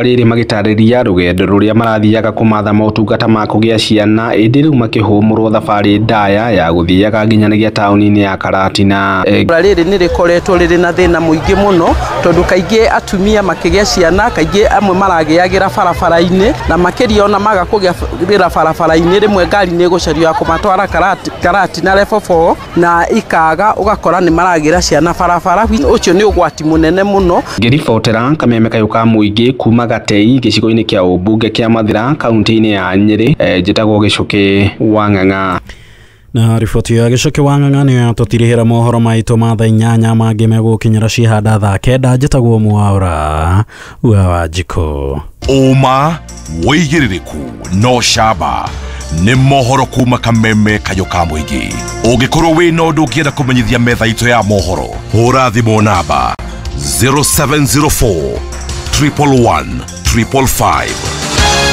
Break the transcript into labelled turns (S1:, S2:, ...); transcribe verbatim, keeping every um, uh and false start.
S1: Rĩrĩ magĩtarĩria rũgendo rũrĩa marathiaga kũmatha motungata ma kũgĩa ciana ĩndĩ rĩu makĩhũmũrwo thabarĩ ndaya ya gũthiaga nginyanĩria taũni-inĩ ya Karatina.
S2: Itũra rĩrĩ nĩ rĩkoretwo rĩrĩ na thĩna mũingĩ mũno, tondũ kaingĩ atumia makĩgĩa ciana kaingĩ amwe maragĩagĩra barabara-inĩ, na makĩria ona maga kũgĩra barabara-inĩ rĩmwe ngari nĩ ĩgũcario ya kũmatwara Karatina level four na ikaga, ũgakora nĩ maragĩra ciana barabara. Ũcio nĩ ũgwati mũnene mũno.
S1: Ngĩribotera kameme kayũ ka mũingĩ kuma Gatei gĩcigo-inĩ kĩa ũmbunge kĩa Mathira kaunti-inĩ ya Nyĩrĩ, njĩtagwo Gĩcũkĩ wa Ng'ang'a.
S3: Na riboti ya Gĩcũkĩ wa Ng'ang'a nĩyo yatũtirihĩra mohoro maitũ ma thaa inyanya, mangĩ megũkinyĩra cihanda thaa kenda. Njĩtagwo Mwaura wa Wanjikũ.
S4: Ũma, wĩigĩrĩrĩku no camba nĩ mohoro kuma kameme kayũ ka mũingĩ. Ũngĩkorwo wĩna ũndũ ũngĩenda kũmenyithia metha itũ ya mohoro, hũra thimũ namba zero seven zero four triple one triple five.